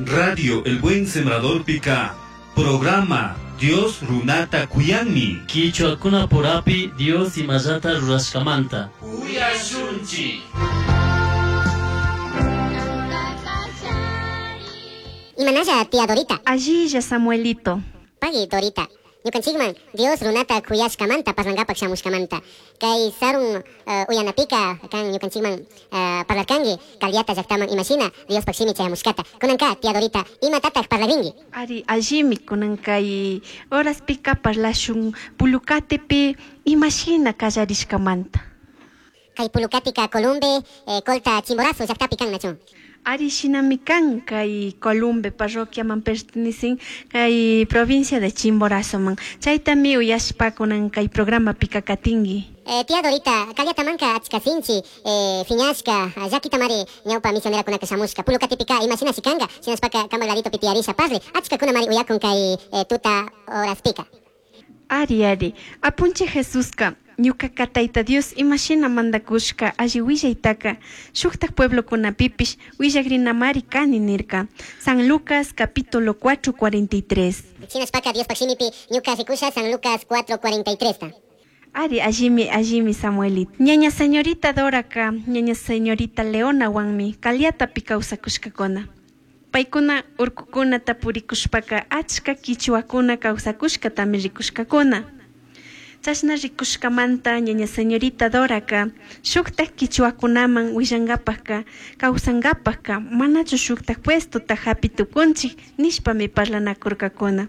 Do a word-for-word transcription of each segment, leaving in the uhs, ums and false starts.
Radio El Buen Sembrador Pica. Programa Dios Runata Kuyanmi. Kichwakuna purapi Dios imallata rurashkamanta. Uyashunchi. Imanalla tía Dorita. Allilla Samuelito. Pagui Dorita. Ñukanchikman Dios runata kuyashkamanta parlangapak shamushkamanta. Kay sarun uh, uyanapika kan ñukanchikman uh, parlarkanki Calviata llaqtaman imashina Diospak shimi chayamushkata. Kunanka tía Dorita imatataq parlarinki. Ari allimi kunan kay horaspika parlashun Pulucatepi imashina kallarishkamanta. Kay Pulucatika Columbe eh, Colta Chimborazo llaqtapi kan nachun. Ari shinami kan kay Columbe parroquiaman pertenecen kay provincia de Chimborazo man. Chaytami uyashpa kunan kay programa pika katingi. Eh, tía Dorita, Calviatamanka achka sinchi, eh, fiñashka, llakitamari ñawpa misionerakunaka shamushka, Pulucatipika imashina shikanga, shinashpaka kamak ladito pitiyarisha parli, achka kunamari uyakun kay eh, tuta horaspika. Ari ari, apunche Jesuska, ñuqaqa Tayta Dios imashina mandakushka alli willaytaka shuktak pueblokunapipish willakrinamari kani nirka. San Lucas capítulo cuatro cuarenta y tres. Shinashpaka Diospak shimipi ñuka rikusha San Lucas cuatro cuarenta y tres ta. Ari, allimi, allimi Samuelito. Ñaña señorita Doraka, ñaña señorita Leona wanmi, Calviatapi kawsakushkakuna. Paykuna urkukunata purikushpaka achka kichwakuna kawsakushkatami rikushkakuna. Chashna rikushkamanta ñaña señorita Doraka shuktak kichwakunaman willankapakka kawsankapakka manachu shuktak puestota hapi tukunchik nishpami parlanakurkakuna.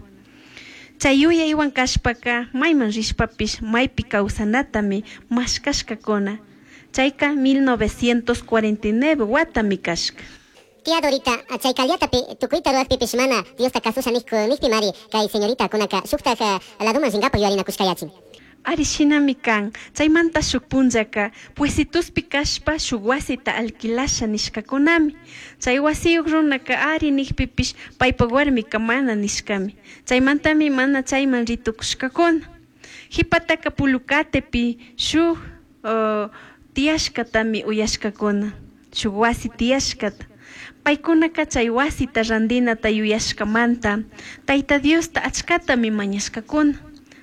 Chay yuyaywan kashpaka mayman rishpapish maypi kawsanatami mashkashkakuna. Chayka mil novecientos cuarenta y nueve watami kashka. Tía Dorita, chay Calviatapi tukuyta rurakpipish mana Diosta kasusha nikpi mari kay señorita kunaka shuktak laduman rinkapak yuyarinakushkayachin. Ari shinami kan, chaymanta shuk punllaka puesituspi kashpa shuk wasita alquilasha nishkakunami. Chay wasiyuq runaka ari nikpipish paypak warmika mana nishkami. Chaymantami mana chayman ritukushkakuna. Hipataka Pulucatepi shuk uh, tiyashkatami uyashkakuna. Shuk wasi tiyashkata. Paykunaka chay wasita randinata yuyashkamanta Tayta Diosta achkatami mañashkakuna.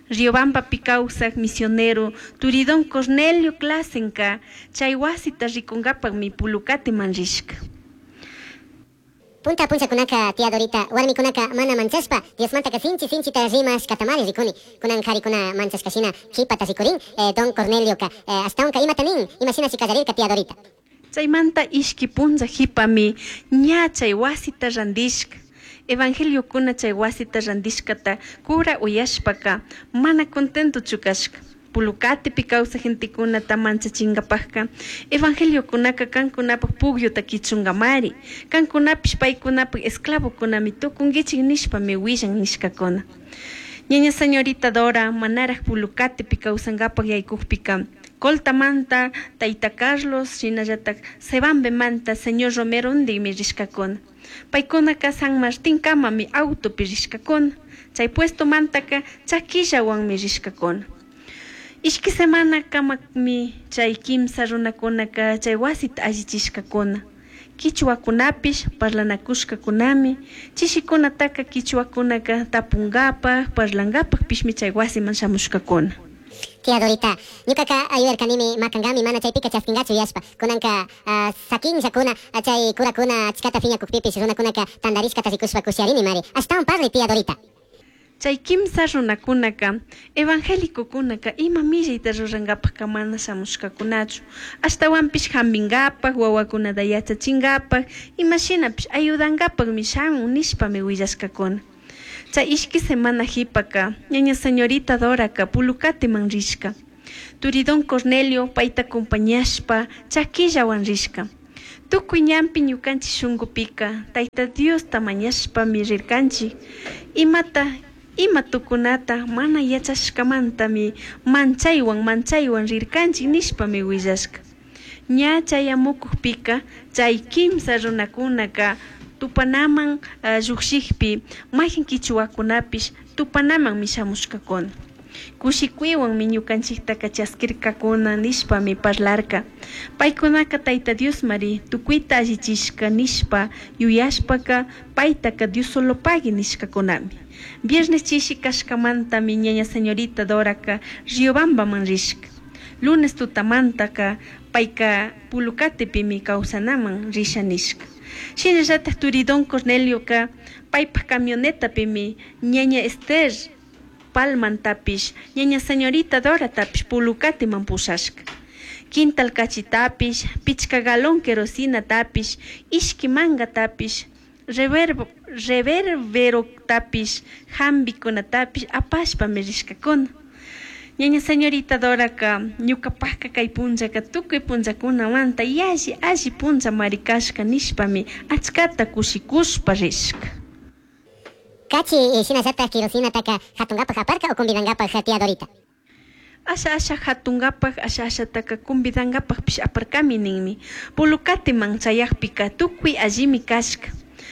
Riobambapi kawsaq misionero Turidón Cornelio Clasenka chay wasita rikunkapakmi Pulucateman rishka. Punta punchakunaka tía Dorita warmikunaka mana manchashpa Diosmantaka sinchi sinchita rimashkatamari rikuni. Kunan qarikuna manchashkashina qhipata rikurin eh, don Cornelioka eh, ashtawanka imata nin imashinashi kallarirka tía Dorita. Chaymanta ishki punlla qhipami ña chay wasita randishka. Evangeliokuna chay wasita randishkata cura uyashpaka mana contentochu kashka. Pulucatepi kawsaq gentekunata manchachinkapakka evangeliokunaka kankunapak pukyuta kichunkamari kankunapish paykunapak esclavokunami tukunkichik nishpami willan nishkakuna. Ñaña señorita Dora manaraq Pulucatepi kawsankapak yaykukpika Coltamanta Tayta Carlos shinallatak Sebambemanta señor Romero ndikmi rishkakuna. Paykunaka San Martín kamami autopi rishkakuna. Chay puestomantaka chakillawanmi rishkakuna. Ishki semana kamami chay kimsa runakunaka chay wasita allichishkakuna. Kichwakunapish parlanakushkakunami chishikunataka kichwakunaka tapunkapak parlankapakpishmi chay wasiman shamushkakuna. Tía Dorita, ñuqaka ayudarkanimi makankami mana chaypika chaskinkachu yashpa. Kunanka uh, sakinllakuna chay kurakuna achkata phiñakukpipish runakunaka tantarishkata rikushpa kushiarini mari. Ashtawan parli tía Dorita. Chay kimsa runakunaka evangélicokunaka ima millayta rurankapakka mana shamushkakunachu. Ashtawanpish hampinkapak wawakunata yachachinkapak imashinapish ayudankapakmi shamun nishpami willashkakuna. Chay ishki semana qhipaka ñaña señorita Doraka Pulucateman rishka. Turidón Cornelio payta acompañashpa chakillawan rishka. Tukuy ñanpi ñukanchik shunqupika Tayta Diosta mañashpami rirkanchik. Imata ima tukunata mana yachashkamantami manchaywan manchaywan rirkanchik nishpami willashka. Ña chayamukukpika chay kimsa runakunaka tupanaman uh, lluqshikpi mayqin kichwakunapish tupanamanmi shamushkakuna. Kushikuywanmi ñukanchiktaka chaskirkakuna nishpami parlarka. Paykunaka Tayta Diosmari tukuyta allichishka nishpa yuyashpaka paytaka Diosolopagui nishkakunami. Viernes chishi kashkamantami ñaña señorita Doraka Riobambaman rishka. Lunes tutamantaka payka Pulucatepimi kawsanaman risha nishka. Shinallatak turi Don Cornelioka paypak camionetapimi ñaña Esther Palmantapish ñaña señorita Doratapish Pulucateman pushashka. Quintal kachitapish, pichka galón kerosinatapish, ishki mangatapish, reverbo reverberotapish, hambikunatapish apashpami rishkakuna. Ñaña señorita Doraka ñukapakka kay punllaka tukuy punllakunamanta yalli alli punllamari kashka nishpami achkata kushikushpa rishka. Kachi eh, shinallatak kerosinataka hatunkapak aparka o convidankapak tía Dorita. Asha asha hatunkapak asha ashataka convidankapakpish aparkami ninmi. Pulucateman chayakpika tukuy allimi kashka.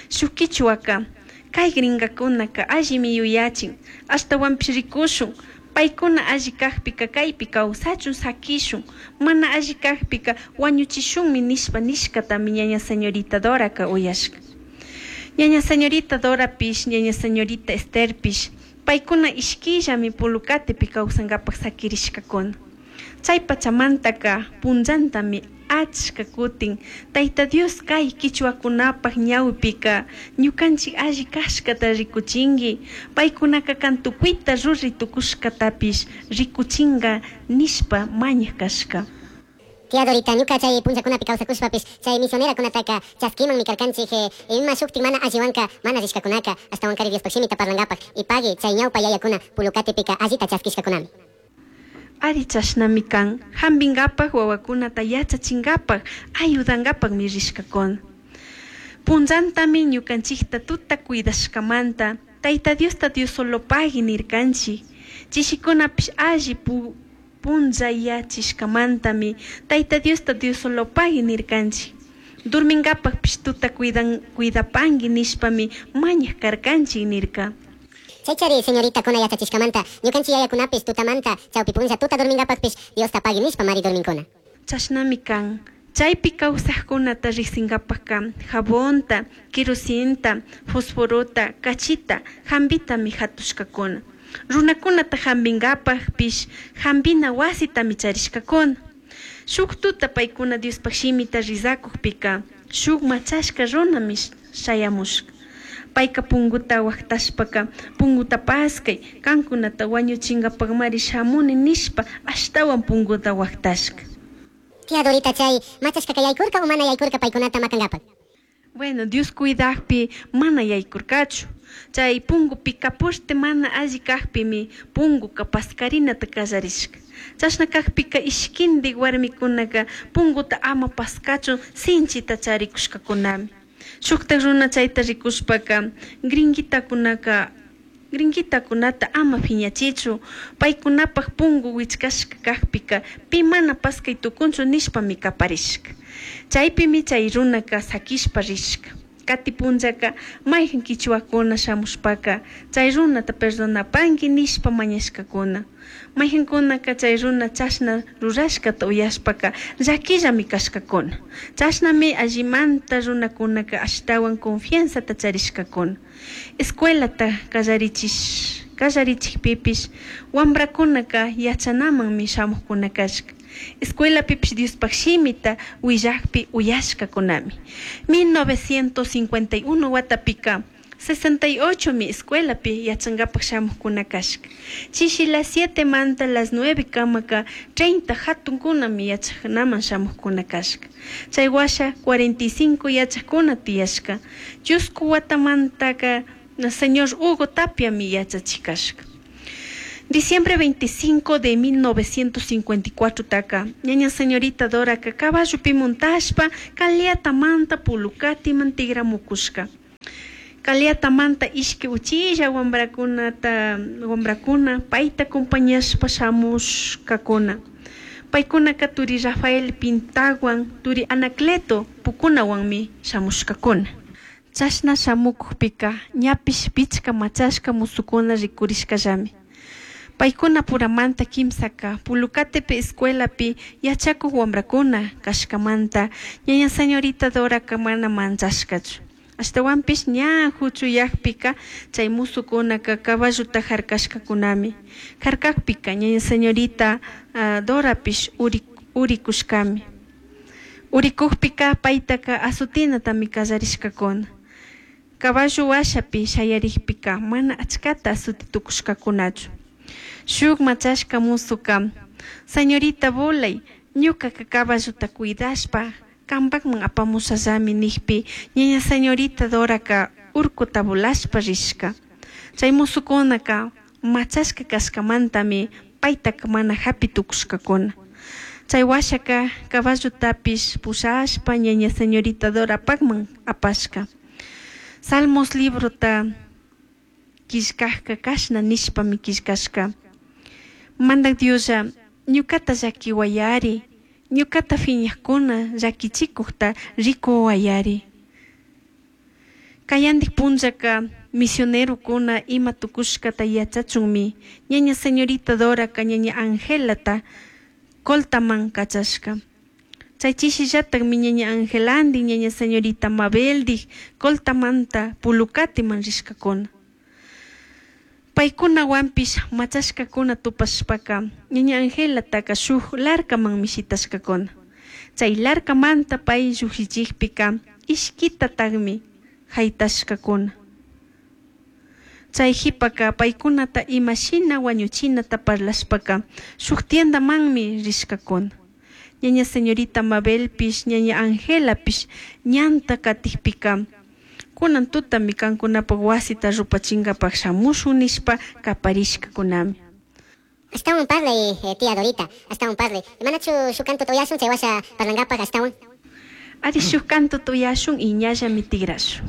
Shuk kichwaka kay gringakunaka allimi yuyachin ashtawanpish rikushun paykuna alli kakpika kaypi kawsachun sakishun mana alli kakpika wañuchishunmi nishpa nishkatami ñaña señorita Doraka uyashka. Ñaña señorita Dorapish ñaña señorita Estherpish paykuna ishkillami Pulucatepi kawsankapak sakirishkakuna. Chay pachamantaka punllantami achka kutin Tayta Dios kay kichwakunapak ñawpika ñukanchik alli kashkata rikuchinki paykunaka kan tukuyta ruray tukushkatapish rikuchinka nishpa mañak kashka. Tía Dorita, ñuka chay punllakunapi kawsakushpapish chay misionerakunataka chaskimanmi karkanchik eh, ima shuktik mana alliwanka mana rishkakunaka ashtawankari Diospak shimita parlankapak y pagui chay ñawpa yayakuna Pulucatepika allita chaskishkakunami. Ari chashnami kan hampinkapak wawakunata yachachinkapak ayudankapakmi rishkakuna. Punllantami ñukanchikta tuta cuidashkamanta Tayta Diosta Diosolopagui nirkanchik. Chishikunapish alli pu punllayachishkamantami Tayta Diosta Diosolopagui nirkanchik. Durminkapakpish tuta cuidan cuidapanki nishpami mañak karkanchik nirka. Chaychari señorita kuna yachachishkamanta ñukanchik yayakunapish tutamanta chawpi punlla tuta durminkapakpish Diosta pagui nishpa mari durminkuna. Chashnami kan. Chaypi kawsaqkunata riqsinkapakka jabonta, kerosinta, fosforota, kachita, hampitami hatushkakuna. Runakunata hampinkapakpish hampina wasitami charishkakuna. Shuk tuta paykuna Diospaq shimita rizakukpika shuk machashka runami shayamushka. Payka punguta waqtashpaka punguta paskay kankunata wañuchinkapakmari shamuni nishpa ashtawan punguta waqtashka. Tía Dorita chay machashkaka yaykurka o mana yaykurka paykunata makankapak. Bueno, Dios cuidakpi mana yaykurkachu. Chay pungupika poste mana alli kakpimi punguka paskarinata kallarishka. Chashna kakpika ishkindik warmikunaka punguta ama paskachun sinchita charikushkakunami. Shuktak runa chayta rikushpaka gringuitakunaka gringuitakunata ama phiñachichu paykunapak pungu wichkashka kakpika pi mana paskay tukunchu nishpami kaparishka. Chaypimi chay runaka sakishpa rishka. Kati punllaka mayhan kichwakuna shamushpaka chay runata perdonapanki nishpa mañashkakuna. Mayhankunaka chay runa chashna rurashkata uyashpaka llakillami kashkakuna. Chashnami allimanta runakunaka ashtawan confianzata charishkakuna. Escuelata kallarichish kallarichikpipish wamrakunaka yachanamanmi shamukkuna kashka. Escuelapipish Diospaq shimita willakpi uyashkakunami. mil novecientos cincuenta y uno watapika sesenta y ocho mi escuelapi yachankapak shamukkuna kashka. Chishi las siete manta las nueve kamaka treinta hatunkunami yachanaman shamukkuna kashka. Chay washa cuarenta y cinco yachakuna tiyashka. Chusku watamantaka señor Hugo Tapiami yachachikashka. Diciembre veinticinco de mil novecientos cincuenta y cuatro taka, ñaña señorita Doraka caballopi montashpa Caliatamanta Pulucatiman tigramukushka. Caliatamanta ishki uchilla wambrakunata wambrakuna payta acompañashpa shamushkakuna. Paykunaka turi Rafael Pintawan, turi Anacleto Pukunawanmi shamushkakuna. Chashna shamukukpika ñapish pichka machashka musukuna rikurishkallami. Paykunapuramanta kimsaka Pulucatepe escuelapi yachakuq wamrakuna kashkamanta ñaña señorita Doraka mana manchashkachu. Ashtawanpish ña huchuyakpika chay musukunaka caballuta harkashkakunami. Harkakpika ñaña señorita uh, Dorapish uri, urikushkami. Urikukpika paytaka azutinatami kallarishkakuna. Caballo washapi shayarikpika mana achkata azuti tukushkakunachu. Shuk machashka musuka, señorita volay, ñukaka caballuta cuidashpa kampakman apamushallami nikpi ñaña señorita Doraka urkuta volashpa rishka. Chay musukunaka machashka kashkamantami paytaka mana hapi tukushkakuna. Chay washaka caballutapish pushashpa ñaña señorita Dorapakman apashka. Salmos librota killkajka kashna nishpami killkashka. Mandak Dioslla ñukata llakiwayari, ñukata fiñajkuna llakichikukta rikuwayari. Kayandik punllaka misionerokuna ima tukushkata yachachunmi ñaña señorita Doraka ñaña Angelata Coltaman kachashka. Chay chishillatakmi ñaña Angelandi ñaña señorita Mabeldik Coltamanta Pulucatiman rishkakuna. Paykunawanpish machashkakuna tupashpaka ñaña Angelataka shuk larkamanmi shitashkakuna. Chay larkamanta pay llukshichikpika ishkitatakmi haytashkakuna. Chay qhipaka paykunata imashina wañuchinata parlashpaka shuk tiendamanmi rishkakuna. Ñaña señorita Mabelpish ñaña Angelapish ñanta katikpika kunan tutami kankunapak wasita rupachinkapak shamushun nishpa kaparishkakunami. Ashtawan parlay, eh, tía Dorita, ashtawan parlay. Manachu shuk canto uyashun, chay washa parlankapak ashtawan. Ari shuk canto uyashun y ñallami tigrashun.